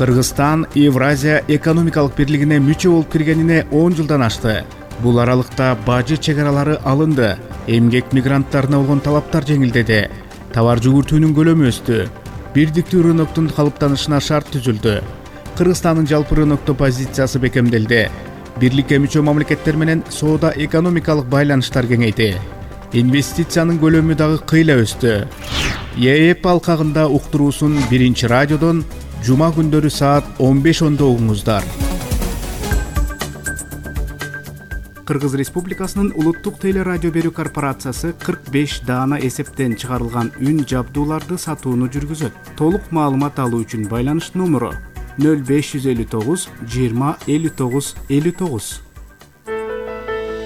Кыргызстан Евразия экономикалык бирлигине мүчө болуп киргенине 10 жылдан ашты. Бул аралыкта бажы чегаралары алынды, эмгек мигранттарына болгон талаптар жеңилдеди, товар жүгүртүүнүн көлөмү өстү, бирдиктүү рыноктун калыптанышына шарт түзүлдү. Кыргызстандын жалпы рынокто позициясы бекемделди. Бирликке мүчө мамлекеттер менен соода экономикалык байланыштар кеңейди. Инвестициянын көлөмү дагы кыйла өстү. ЕЭП алкагында уктуруусун Биринчи радиодон жума күндөрү саат 15:10 угуңуздар. Кыргыз Республикасынын улуттук телерадио берүү корпорациясы 45 даана эсептен чыгарылган үн жабдууларды сатууну жүргүзөт. Толук маалымат алуу үчүн байланыш номеру 0559 20 59 59.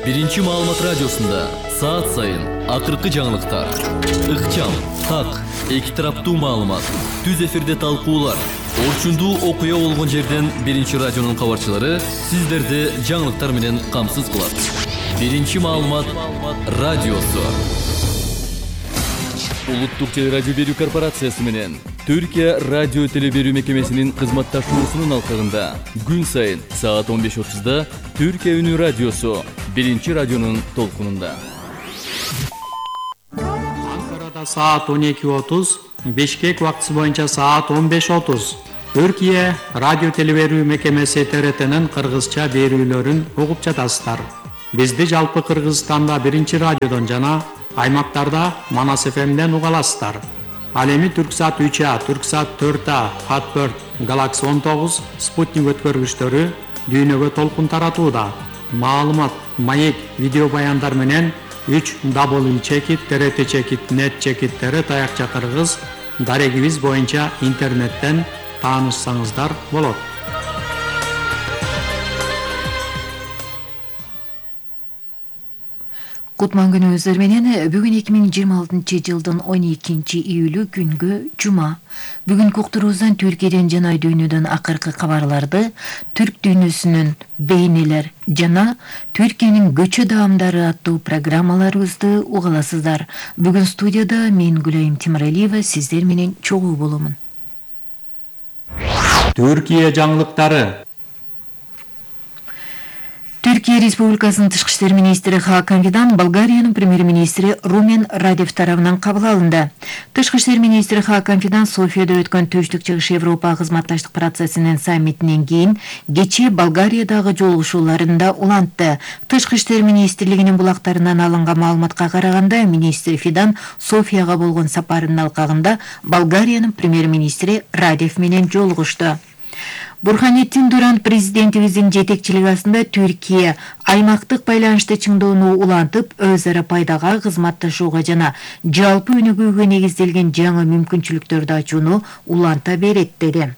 Биринчи маалымат радиосунда саат сайын акыркы жаңылыктар, ыкчам, так, эки тараптуу маалымат, түз эфирде талкуулар, орчундуу окуя болгон жерден Биринчи радионун кабарчылары сиздерди жаңылыктар менен камсыз кылат. Биринчи маалымат радиосу. Улуттук телерадио берүү корпорациясы менен Түркия радио телеберүү мекемесинин кызматташуусунун алкагында күн сайын саат 15:30 Түркия үнү радиосу Биринчи радионун толкунунда. Анкарада саат 12:30, Бишкек убактысы боюнча саат 15:30. Түркия радио телеберүү мекемеси ТРТнын кыргызча берүүлөрүн угуп жатасыздар. Бизди жалпы Кыргызстанда Биринчи радиодон жана аймактарда Манас ФМден уга аласыздар. Ал эми Түрксат 3А, Түрксат 4А, Хатберт, Galaxy 19, Спутник өткөргүчтөрү дүйнөгө толкун таратууда. Маалымат, маек, видео баяндар менен 3w.trt.net/tr таякча кыргыз дарегибиз боюнча интернеттен таанышсаңыздар болот. Кутман күнүңүздөр менен бүгүн 2026 жылдын 12 июлү күнгө жума. Бүгүнкү уктуруубуздан Түркияден жана дүйнөдөн акыркы кабарларды, түрк дүйнөсүнүн бейнелер жана Түркиянын көчө даамдары аттуу программаларыбызды угаласыздар. Бүгүн студияда мен Гүлайым Тимиралиева сиздер менен чогуу боломун. Түркия жаңылыктары. Түркия Республикасынын Тышкы иштер министри Хакан Фидан Болгариянын премьер-министри Румен Радев тарабынан кабыл алынды. Тышкы иштер министри Хакан Фидан Софияда өткөн Түштүк-Чыгыш Европа кызматташтык процессинин саммитинен кийин кечээ Болгариядагы жолугушууларында улантты. Тышкы иштер министрлигинин булактарынан алынган маалыматка караганда, министр Фидан Софияга болгон сапарынын алкагында Болгариянын премьер-министри Радев менен жолугушту. Бурханеттин Дурант президентибиздин жетекчилиги астында Түркия аймактык байланышты чыңдоону улантып, өз ара пайдага, кызматташууга жана жалпы өнүгүүгө негизделген жаңы мүмкүнчүлүктөрдү ачууну уланта берет деди.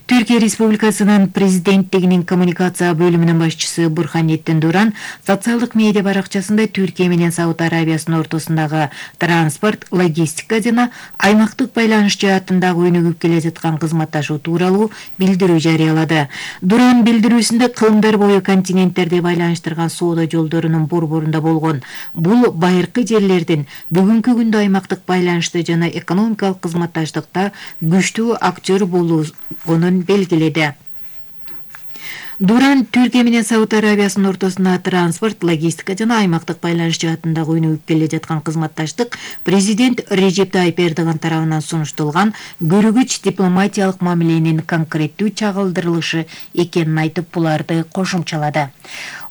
Түркия Республикасынын президенттигинин коммуникация бөлүмүнүн башчысы Бурханеттин Дуран социалдык медиа баракчасында Түркия менен Сауд Арабиясынын ортосундагы транспорт, логистика жана аймактык байланыш жаатындагы өнүгүп келе жаткан кызматташуу тууралуу билдирүү жарыялады. Дуран билдирүүсүндө кылымдар бою континенттерди байланыштырган соода жолдорунун борборунда болгон бул байыркы жерлердин бүгүнкү күндө аймактык байланышты жана экономикалык кызматташтыкта күчтүү актер болгонун белгиледи. Дуран Түркия менен Сауд Арабиясынын ортосунда транспорт, логистика жана аймактык байланыш жаатындагы өнүгүп келе жаткан кызматташтык президент Режеп Тайип Эрдоган тарабынан сунушталган көрүгүч дипломатиялык мамиленин конкреттүү чагылдырылышы экенин айтып, буларды кошумчалады.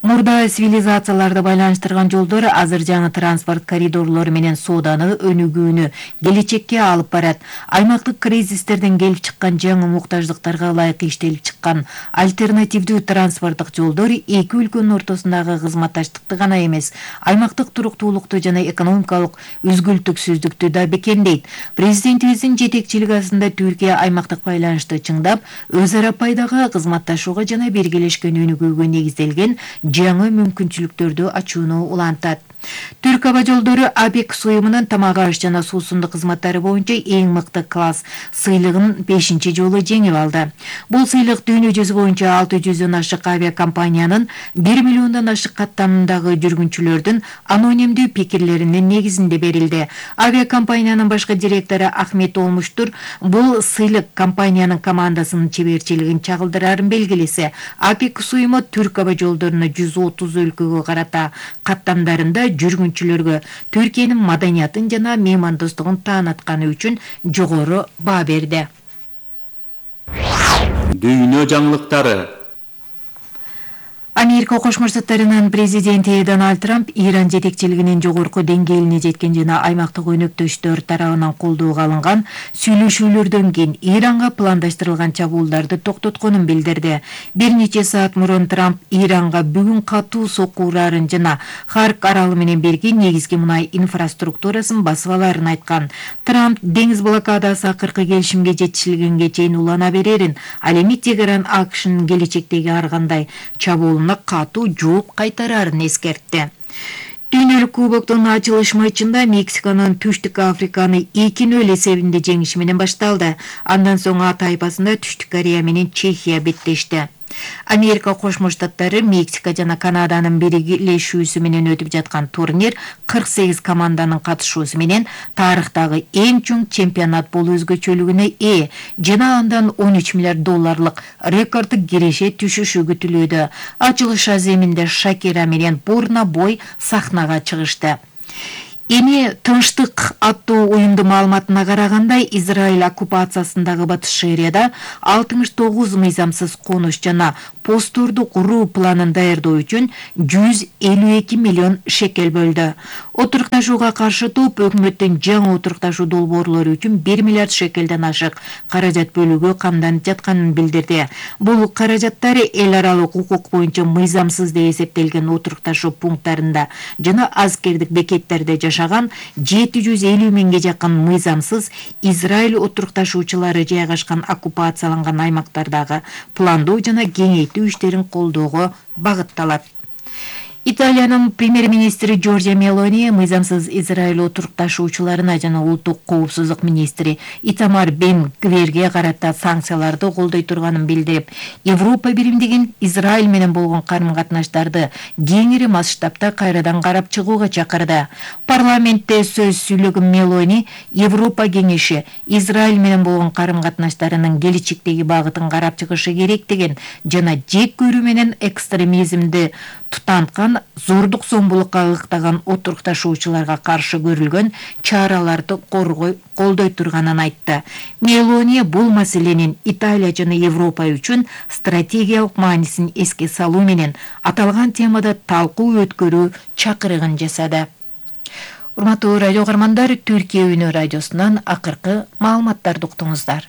Мурда цивилизацияларды байланыштырган жолдор азыр жаңы транспорт коридорлору менен сооданы өнүгүүнү келечекке алып барат. Аймактык кризистерден келип чыккан жаңы муктаждыктарга ылайык иштелип чыккан альтернативдүү транспорттук жолдор эки өлкөнүн ортосундагы кызматташтыкты гана эмес, аймактык туруктуулукту жана экономикалык үзгүлтүксүздүктү да бекемдейт. Президентибиздин жетекчилиги астында Түркия аймактык байланышты чыңдап, өз ара пайдага, кызматташууга жана биргелешкен өнүгүүгө негизделген жаңы мүмкүнчүлүктөрдү ачууну улантат. Түрк аба жолдору АБЭК уюмунун тамак аш жана суусундук кызматтары боюнча эң мыкты класс сыйлыгын 5-чи жолу жеңип алды. Бул сыйлык дүйнө жүзү боюнча 600дөн ашык авиакомпаниянын 1 миллиондон ашык каттамдагы жүргүнчүлөрдүн анонимдүү пикирлеринин негизинде берилди. Авиакомпаниянын башкы директору Ахмет Олмуштур бул сыйлык компаниянын командасынын чеберчилигин чагылдырарын белгилесе. АБЭК уюму Түрк аба жолдоруна 130 өлкөгө карата каттамдарында жүргүнчүлөргө Түркиянын маданиятын жана меймандостугун таанытканы үчүн жогору баа берди. Дүйнө жаңылыктары. Америка Кошмо Штаттарынын президенти Дональд Трамп Иран жетекчилигинин жогорку деңгээлине жеткен жана аймактык өнөктөштөр тарабынан колдоого алынган сүйлөшүүлөрдөн кийин Иранга пландаштырылган чабуулдарды токтотконун билдирди. Bir нече саат мурун Трамп Иранга бүгүн катуу сокку урарын жана Харк аралы менен бирге негизги мунай инфраструктурасын басып аларын айткан. Трамп деңиз блокадасы акыркы келишимге жетишилгенге чейин улана берерин, ал эми Тегеран АКШнын келечектеги ар кандай чабуулуна катуу жооп кайтарарын эскертти. Дүйнөлүк кубоктун ачылыш матчында Мексиканын Түштүк Африканы 2-0 эсебинде жеңиши менен башталды. Андан соң А тайпасында Түштүк Корея менен Чехия беттешти. Америка Кошмо Штаттары, Мексика жана Канаданын биригилешүүсү менен өтүп жаткан турнир 48 команданын катышуусу менен тарыхтагы эң чоң чемпионат болуу өзгөчөлүгүнө жана андан 13 миллиард долларлык рекорддук киреше түшүшү күтүлүүдө. Ачылыш аземинде Шакира менен Бурна Бой сахнага чыгышты. Эми Тынчтык аттуу уюмдун маалыматына караганда, Израиль оккупациясындагы Батыш Шерияда 69 мыйзамсыз конуш жана постторду куруу планын даярдоо үчүн 152 миллион шекел бөлдү. Отурукташууга каршы топ өкмөттүн жаңы отурукташуу долбоорлору үчүн 1 миллиард шекелден ашык каражат бөлүүгө камданып жатканын билдирди. Бул каражаттар эл аралык укук боюнча мыйзамсыз деп эсептелген отурукташуу пункттарында жана аскердик бекеттерде жашаган 750 миңге жакын мыйзамсыз Израиль отурукташуучулары жайгашкан оккупацияланган аймактардагы пландоо жана кеңейтүү иштерин колдоого багытталат. Италиянын премьер-министри Джорджия Мелони мыйзамсыз Израиль отурукташуучуларына жана улуттук коопсуздук министри Итамар Бен Гверге карата санкцияларды колдой турганын билдирип, Европа биримдигин Израиль менен болгон карым-катнаштарды кеңири масштабта кайрадан карап чыгууга чакырды. Парламентте сөз сүйлөгөн Мелони Европа кеңеши Израиль менен болгон карым-катнаштарынын келечектеги багытын карап чыгышы керек деген жана жек көрүү менен экстремизмди тутанткан зордук зомбулукка ыктаган отурукташуучуларга каршы көрүлгөн чараларды колдой турганын айтты. Мелони бул маселенин Италия жана Европа үчүн стратегиялык маанисин эске салуу менен аталган темада талкуу өткөрүү чакырыгын жасады. Урматтуу радио каармандар, Түркия Үнү радиосунан акыркы маалыматтарды уктуңуздар.